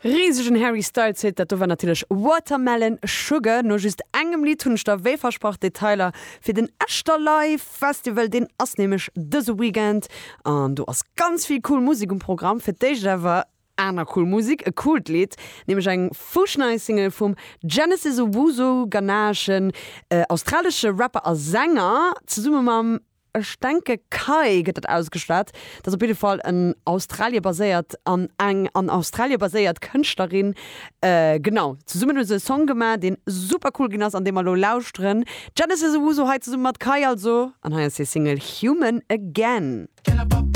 Risegen Harry Styles Hit, dat do war natierlech Watermelon Sugar. No just engem Lidd hunn ech der wéi versprach Detailer fir den Echterlive Festival. Deen ass nämlech dëse Weekend an do ass ganz vill cool Musek um Programm. Fir d'éischt awer aner cool Musek, e coolt Lidd, nämlech eng fuschnei Single vum Genesis Owusu, ghanaeschen, australesche Rapper a Sänger, zesumme mam Ech denke Kai gëtt dat ausgeschwat. Dat ass op jidde Fall en Australie baséiert an eng an Australie baséiert Kënschtlerin. Genau, zesummen hu se e Song gemaach, deen super cool ginn ass an dee mer elo lauschteren. Genesis Owusu hei zesumme mat Kai also an hei ass hir Single Human Again.